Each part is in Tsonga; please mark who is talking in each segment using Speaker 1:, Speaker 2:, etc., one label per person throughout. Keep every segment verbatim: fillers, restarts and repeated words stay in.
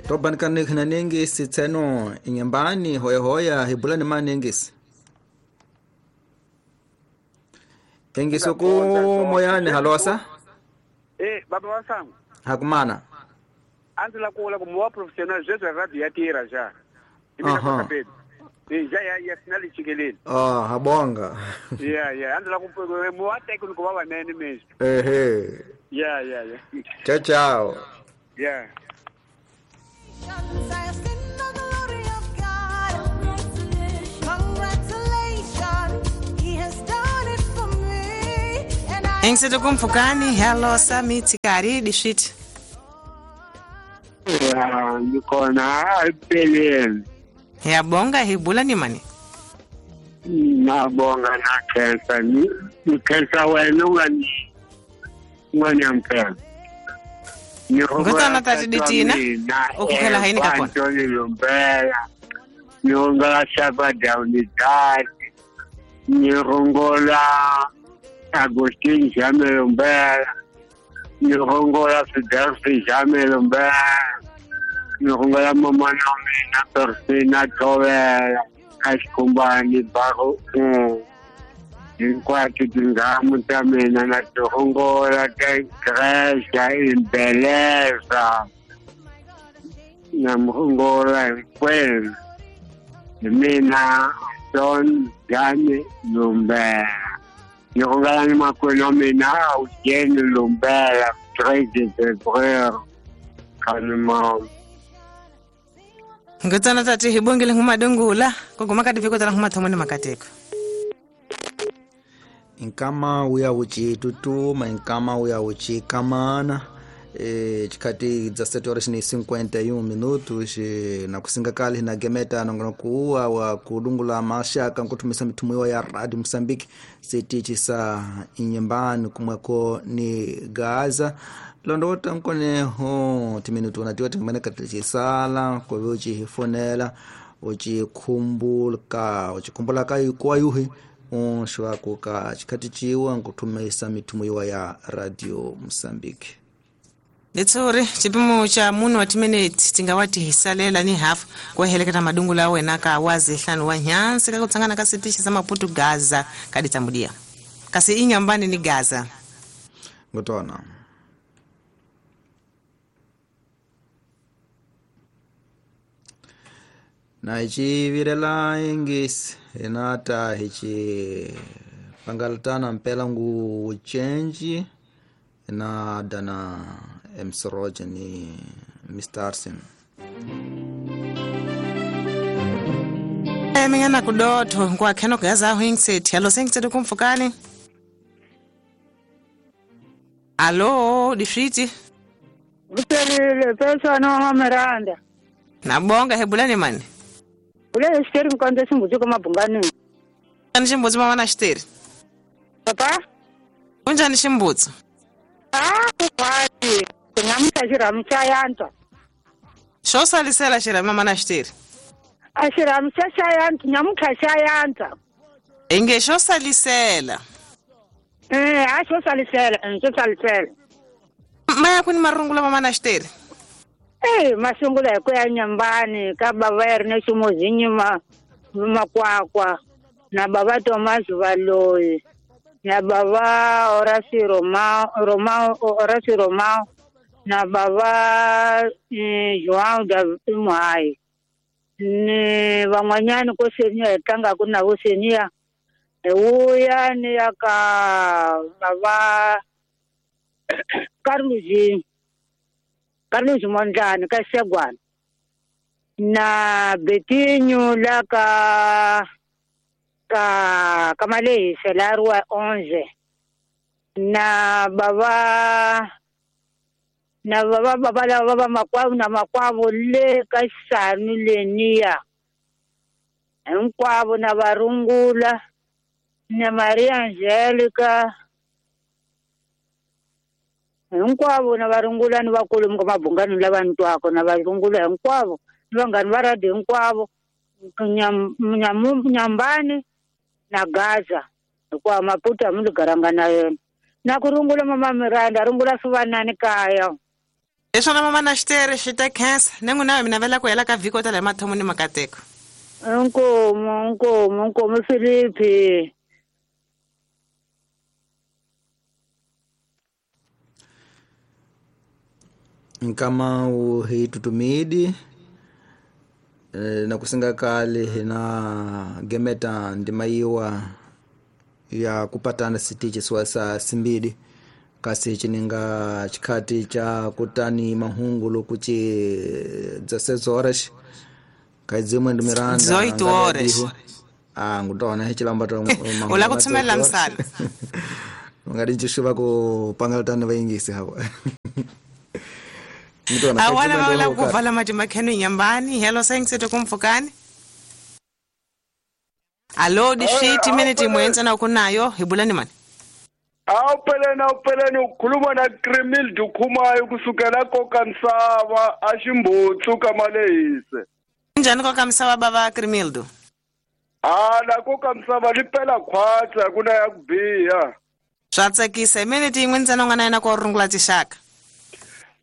Speaker 1: Tobanikane khina sitseno inyambani hoya hoya hibulani manengisi. Engisi ku moyani halosa.
Speaker 2: Eh baba wasangu.
Speaker 1: Hakumana.
Speaker 2: Anzela kuola ku professional jesu radio ya tira ja.
Speaker 1: Aha.
Speaker 2: Eh ja ya ya finali chikelele.
Speaker 1: Ah habonga.
Speaker 2: Yeah yeah anzela ku mo técnico baba nene mesmo.
Speaker 1: Ehe.
Speaker 2: Yeah yeah yeah.
Speaker 1: Ciao ciao.
Speaker 2: Yeah.
Speaker 3: Engseto kumfukani hello Samit kari dishit.
Speaker 4: Ya nikona alpeleni.
Speaker 3: Ya bonga hibula ni mani.
Speaker 4: Na bonga na kesa ni kesa wena ngani ngani ampela.
Speaker 3: Ngotana tati ditina ukukhela haini kapona.
Speaker 4: Antoni Lumbela. Nyonga shaba down the dad. Nyongola Agustin Jame Lumbela. Nyongola Fidelfi Jame Lumbela. Nyongola mama na Persina Tovela. Askumbani baro. Enquanto tingamos também na Tongola tem creche em beleza na Mongola em Puebla mina Don Jane Lumbera Nyongola ni makono mina Eugene Lumbera três de fevereiro kanuma
Speaker 3: Ngotana tati hibongele ngumadungula kuguma kati viko tala ngumathomoni makateko.
Speaker 1: Inkama uya uchitutuma inkama uya uchikamana eh chikati dza sete horas ni cinquenta e um minutos na kusinga kali na gemeta nongono kuwa wa kudungula mashaka nkutumisa mitumo ya Radio Mozambique sitichi sa inyembani kumweko ni Gaza londota nkone ho timinutu na tiwa tingmene katichisala kwa uchifonela uchikumbulka uchikumbulaka kwa yuhi unshwa kuka chikati chiwa nkutumisa mitumo ya Radio Mozambique.
Speaker 3: Letsore chipimo cha muno wa timinutes tingawati hisalela ni half kuheleketa madungula wena ka wazi hlanu wa nyansi ka kutsangana ka sitishi sa Maputo Gaza kaditambudia kasi inyambani ni Gaza
Speaker 1: ngotona na ichi virela ingis enata hichi pangaltana mpela ngu change na dana M C Roger ni Mister Arsen.
Speaker 3: Emengana kudotho kwa kheno gaza hwingset hello sengithe kumfukani. Allo difriti.
Speaker 5: Uselile pesa no Miranda.
Speaker 3: Nabonga hebulani mani.
Speaker 5: Ule xiteri mkonde ximbuzi ko mabungani.
Speaker 3: Ani ximbuzi mama na xiteri.
Speaker 5: Papa?
Speaker 3: Unjani ximbuzi?
Speaker 5: Ah, kukwati. Ngamtha xirhamu xa yantswa.
Speaker 3: Xo salisela xirhamu mama na xiteri.
Speaker 5: A xirhamu xa xa yantswa, nyamutlha xa yantswa.
Speaker 3: Inge xo salisela.
Speaker 5: Eh, a xo salisela, xo salisela.
Speaker 3: Maya kwini marungula mama na xiteri.
Speaker 5: Eh, masungula hi ku ya nyambani ka baba ya ri na ximuzinyi ma makwakwa na baba Thomas Valoyi na baba Horace Romao Romao Horace Romao na baba eh, João da Muhai ni van'wanyani ko senior hi tlangaku na vo senior hi wuya ni ya ka baba Carlos Carlos Mondlane ka Xegwana na Betinho la ka ka ka Malehisa la Rua onze na baba na baba baba la baba makwavo na makwavo le ka Xisanu leniya hinkwavo na varungula na Maria Angelica hinkwavo na varungula ni vakulu ka mabungani lava ni twako na varungula hinkwavo ni vanghani va radio hinkwavo Nyambani na Gaza hikuva Maputo a mi ligaranga na yena na ku rungula mama Miranda rungula swi vanani kaya.
Speaker 3: Leswona mama na xitere xi ta khensa ni n'wina mi navela ku hela ka vhiki ta le mathomo ni makateko.
Speaker 5: Inkomu, inkomu, inkomu Filipi.
Speaker 1: Nkama u hi tutumidi na kusinga kale hina gemeta ndimaiwa ya kupatana sitichi swasa simbidi kasi chininga chikati cha kutani mahungu lokuchi dezesseis horas kaizimwe ndi Miranda
Speaker 3: dezoito horas
Speaker 1: ah ngutona hichilamba to
Speaker 3: Ola kutsumela msala
Speaker 1: ngadi chishuva ku pangaltani vaingisi hapo.
Speaker 3: Awala wala kuvala mati makhenu nyambani hello sayingisetho kumfukani. Alo dishiti minute mwenza na ukunayo hibulani mani.
Speaker 4: Awupeleni awupeleni ukhuluma na Krimil Dukhumayo kusukela kokaMsava aximbutsu kamalehise.
Speaker 3: Njani kokaMsava baba Krimildo?
Speaker 4: Ah la kokaMsava lipela khwatsa kuna ya kubiha.
Speaker 3: Swa tsakisa minute yin'we ntsena u nga na yena ko rungula tixaka.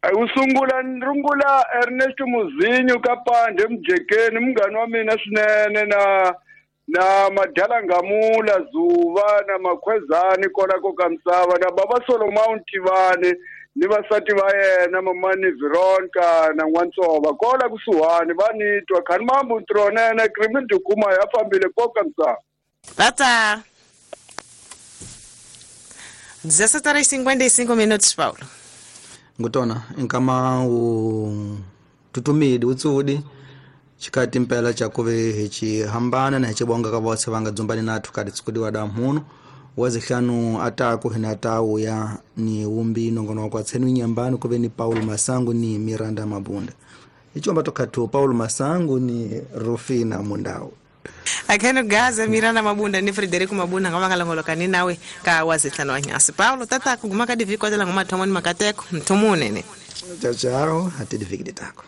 Speaker 4: Usungula nrungula Ernesto Muzinho kapande mjekeni mngani wa mina swinene na na Madala Ngamula Zuva na Makhwezani kona kokaMsava na baba Solomon Tivani ni vasati va yena mamani Veronica na N'wantsova kola kusuhani va nitwa khani mambu ntronene Krimil Dukuma ya fambile kokaMsava.
Speaker 3: Tata dezessete horas e cinquenta e cinco minutos, Paulo.
Speaker 1: Ngutona nkama u tutumidi utsudi chikati mpela cha kuve hichi hambana na hichibonga ka vose vanga dzumbani nathu kati tsikudiwa da mhuno wazihlanu ataku hina tawu ya ni umbi nongono kwa tsenu nyambani kuve ni Paulo Masangu ni Miranda Mabunda ichomba tokatu Paulo Masangu ni Rufina Mundau
Speaker 3: akheno gaza Miranda Mabunda ni Frederico Mabunda ngava ngalongoloka nawe ka wazihlanu wa nyasi Paulo tata kuguma ka diviko tela ngoma thomoni makateko mthumunene
Speaker 1: chao chao hatidiviki ditako.